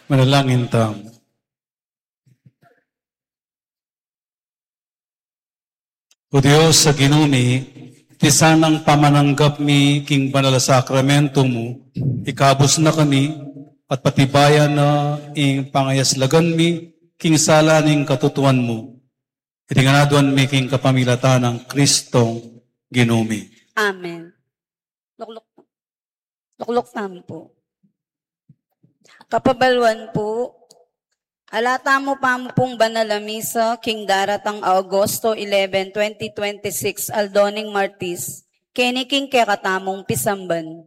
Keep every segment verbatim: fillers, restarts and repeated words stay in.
Manalangin tamu. O Dios a Ginu mi, iti sanang pamananggap mi king banal a sakramento mu, ikabus na kami at patibayan na ing pangayaslagan mi king sala ning katutuan mu. Iti ngan aduan mi king kapamilatan nang Kristong Ginu mi. Amen. Lukluk, lukluk tamu pu. Kapabaluan pu, ala tamu pamu pung banal a misa king daratang Agosto eleven, twenty twenty-six, aldo ning Martis, keni king kekatamung pisamban.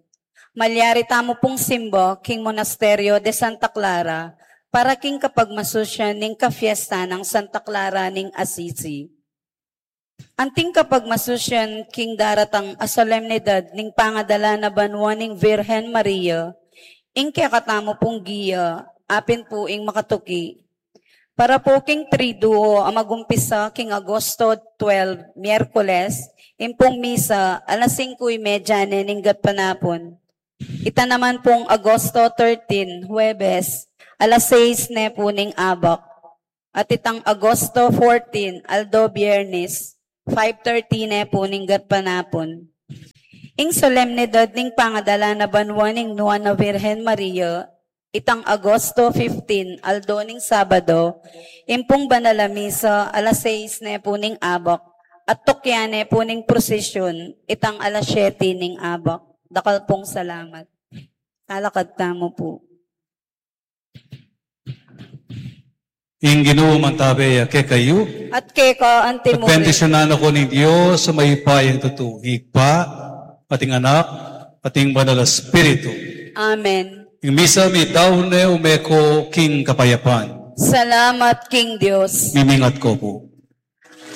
Malyari tamu pung simba king Monasterio de Santa Clara para king kapagmasusyan ning kafiesta nang Santa Clara ning Assisi. Anting kapagmasusyan king daratang a solemnidad ning pangadala na banua ning Virgen Maria, ing kekatamu pung gia, apin pu ing makatuki. Para pu king Triduo a magumpisa king Agosto twelve, Miyerkules, ing pung misa, alas singko y media ne ning gatpanapun. Ita naman pung Agosto thirteen, Huwebes, alas sais ne pu ning abak. At itang Agosto fourteen, aldo Biyernes, five thirty ne pu ning gatpanapun. Ing solemnidad ning pangadala na banua ning Nuan a Virgen Maria, itang Agosto fifteen, aldo ning Sabado, ing pung banal a misa, alas sais ne pu ning abak, at tukyan ne pu ning prosesyun, itang alas siyete ning abak. Dakal pung salamat. Talakad tamu pu. Ing Ginu mantabe ya kekayu. At keka anti mu rin. Bendisyunan na kayu ning Dios a mayupayang tutu, ing Ibpa, at ing Anak, at ing Banal a Espiritu. Amen. Ing misa meyari ne, ume ko king kapayapan. Salamat king Dios. Mimingat ko pu.